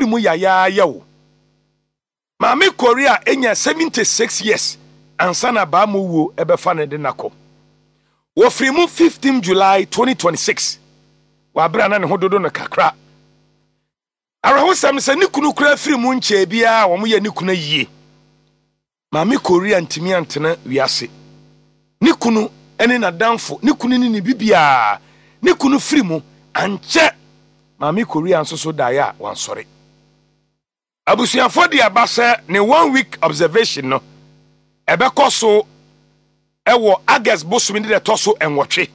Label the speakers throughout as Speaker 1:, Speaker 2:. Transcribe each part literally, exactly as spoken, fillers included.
Speaker 1: afiri mu yayaaya o. Maame Korea enya seventy-six years ansa na baa mu wuo ɛbɛfa ne de nakɔ. Wɔfiri mu fifteen July twenty twenty-six, wabere na ne ho dodo no kakra. Awerɛhosɛm sɛ ne kunu kura firi mu nkyɛn biara a wɔn yɛ ne kunu yie. Maame Korea ntumi antena wiase. Ne kunu ne n'adamfo, ne kunu ne ne bibiara, ne kunu firi mu ankyɛ, Maame Korea nso so daeɛ a wansɔre. Abusuafoɔ de aba sɛ ne one week observation no ɛbɛkɔ so ɛwɔ August bosome ne deɛ ɛtɔ so nwɔtwe,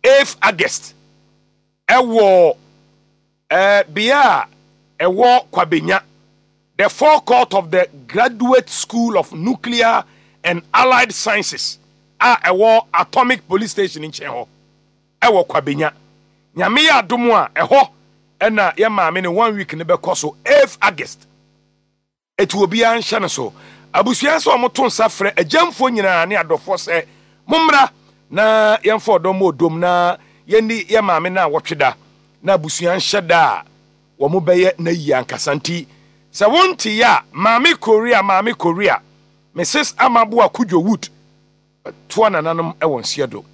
Speaker 1: eighth August, ɛwɔ ɛɛ bea a ɛwɔ Kwabenya, the forecourt of the Graduate School of Nuclear and Allied Sciences a ɛwɔ Atomic Police Station nkyɛn hɔ ɛwɔ Kwabenya. Nyame yɛ adom a, ɛhɔ ɛna yɛ maame ne one week ne bɛkɔ so eighth August. Etu obiara nhyɛ no so. Abusua nso a wɔto nsa frɛ agyamfoɔ nyinaa ne adɔfoɔ sɛ mommra na yɛmfa ɔdɔ mu odom na yɛnni yɛ maame no a wɔtwe da na abusua nhyɛ da a wɔn bɛyɛ na yie ankasa. Nti sɛ wonte yɛ a, Maame Korea, Maame Korea, Missus Amaboa Kudwo Wood, toa nananom wɔ nseɛ do,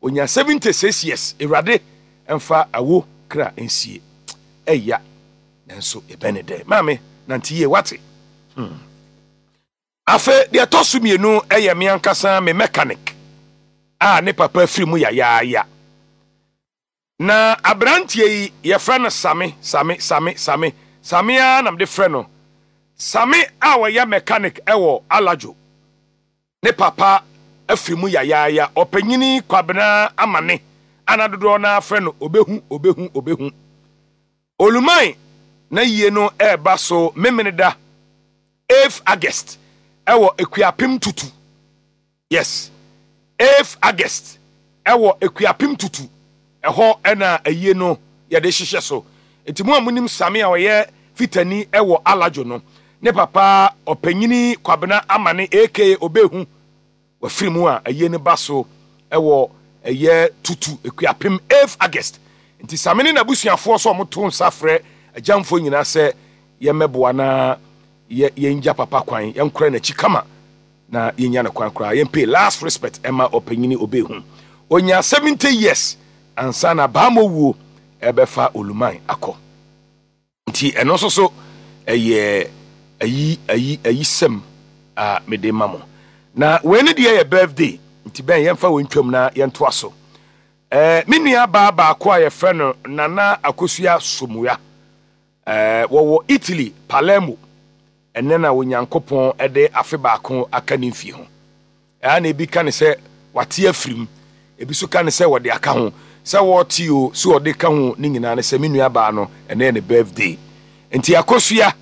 Speaker 1: onya seventy-six years. Awurade mfa awo kra nsie. Ɛya nanso ɛbɛn ne dɛ. Maame, nante yie, wate hmm. Afei deɛ ɛtɔ so mmienu yɛ me ankasa me mechanic a ne papa firi mu yayaaya. Na aberanteɛ yi yɛfrɛ no Same. Same, Same, Same, Same ara na mede frɛ no. Same a wɔyɛ mechanic ɛwɔ Alajo, ne papa afiri mu yayaaya. Ɔpanyini Kwabena Amane ana dodoɔ no afrɛ no Obehu, Obehu, Obehu Oluman na yie no ɛreba so Memeneda eighth August ɛwɔ Ekuapem Tutu. Yes, eighth August ɛwɔ Ekuapem Tutu, ɛhɔ ɛna ayie no yɛde hyehyɛ so. Nti mu a munim Same a ɔyɛ fitani ɛwɔ Alajo no, ne papa Ɔpanyini Kwabena Amane aka Obehu wafiri mu a, ayie no ba so ɛwɔ ɛyɛ Tutu Ekuapem eighth August. Nti Same ne n'abusuafoɔ so a wɔto nsa frɛ agyamfoɔ nyinaa sɛ yɛmmɛboa na yɛ yɛngya papa kwan, yɛnkora n'akyi kama na yɛnya no kwan koraa, yɛmpay last respect ɛma Ɔpanyini Obehu. Onya seventy years ansa na baama wuo ɛbɛfa Oluman akɔ. Nti ɛno nso so ɛyɛ ayi ayi ayi sɛm a mede ma mo. Na wei ne deɛ yɛ birthday, nti bɛn yɛmfa wei ntwam na yɛntoa so. ɛɛ me nua baa baako a yɛfrɛ no Nana Akosua Somua, ɛɛ wɔwɔ Italy, Palermo. Ɛnɛ na Onyankopɔn ɛde afe baako aka ne mfie ho. Ɛa na ebi ka ne sɛ wate afirim, ebi nso ka ne sɛ wɔde aka ho. Sɛ wɔte o, sɛ wɔde ka ho, ne nyinaa ne sɛ me nua baa no, ɛnɛ yɛ ne birthday. Nti Akosua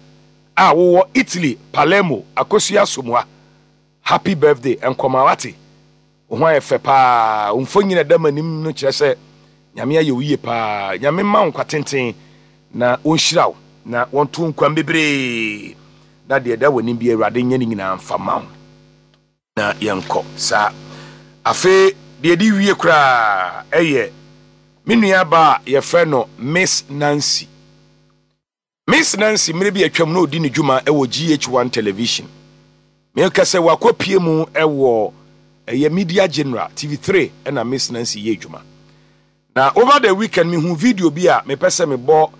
Speaker 1: a wowɔ Italy, Palermo, Akosua Somua, happy birthday nkɔma, wate. Wo ho ayɛ fɛ paa. Wo mfonyin a ɛda m'anim no kyerɛ sɛ Nyame ayɛ wo yie paa. Nyame ma wo nkwa tenten na wɔnhyira wo na wɔnto nkwan bebree na deɛ ɛda w'anim bi, Awurade nyɛ ne nyinaa mfa ma wo na yɛnkɔ saa. Afei deɛ ɛde wie koraa ɛyɛ me nua ba a yɛfrɛ no Miss Nancy. Miss Nancy, mmerɛ bi atwam na ɔdi ne dwuma ɛwɔ G H one Television. Meka sɛ wakɔpie mu ɛwɔ ɛyɛ Media General T V three, ɛna Miss Nancy yɛ adwuma. Na over the weekend mehu video bi a mepɛ sɛ mebɔ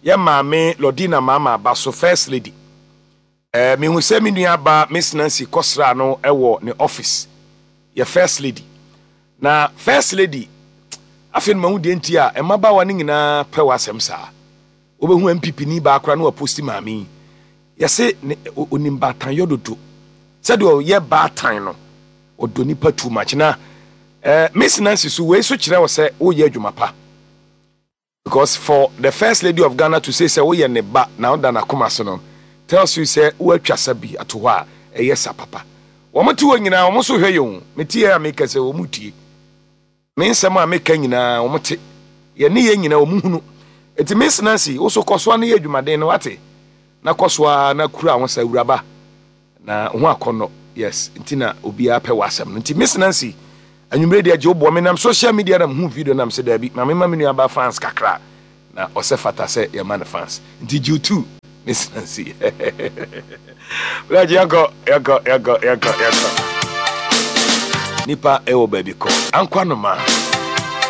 Speaker 1: yɛ maame Lordina Maama aba so, First Lady. ɛɛ mehu sɛ me nua ba Miss Nancy kɔsra no ɛwɔ ne office, yɛ First Lady. Na First Lady, afei no mahu deɛ nti a mmabaawa no nyinaa pɛ w'asɛm saa. Wobɛhu N P P ni baakora na wapost maame yi, yɛse ne onim baatan yɔ dodo, sɛdeɛ ɔyɛ baatan no, ɔdɔ nipa too much. Na ɛɛ Miss Nancy so, wei so kyerɛ wɔ sɛ woyɛ adwuma pa, because for the First Lady of Ghana to say sɛ woyɛ ne ba na woda n'akoma so no tells you sɛ woatwa sa bi ato hɔ a ɛyɛ sa papa. Wɔn te hɔ nyinaa, wɔn nso hwɛ yɛn o. Mete yɛ a meka sɛ wɔn tie me nsɛm a meka nyinaa, wɔn te yɛne yɛn nyinaa, wɔn hunu. Eti Miss Nancy, woso kɔ so a ne yɛ adwumaden no, wate, na kɔ so a na kura ho sɛ awuraba na ho akɔnɔ. Yes, nti na obiara pɛ w'asɛm no. Nti Miss Nancy, anwummerɛ deɛ gye woboɔ. Menam social media na mehu video nam sɛ daabi, ma mema me nuaba fans kakra na ɔsɛ fata sɛ yɛma no fans. Nti gye two Miss Nancy. Bulaji, yɛnkɔ, yɛnkɔ, yɛnkɔ, yɛnkɔ, yɛnkɔ. Nipa ɛwɔ baabi kɔ. Ankwa noma.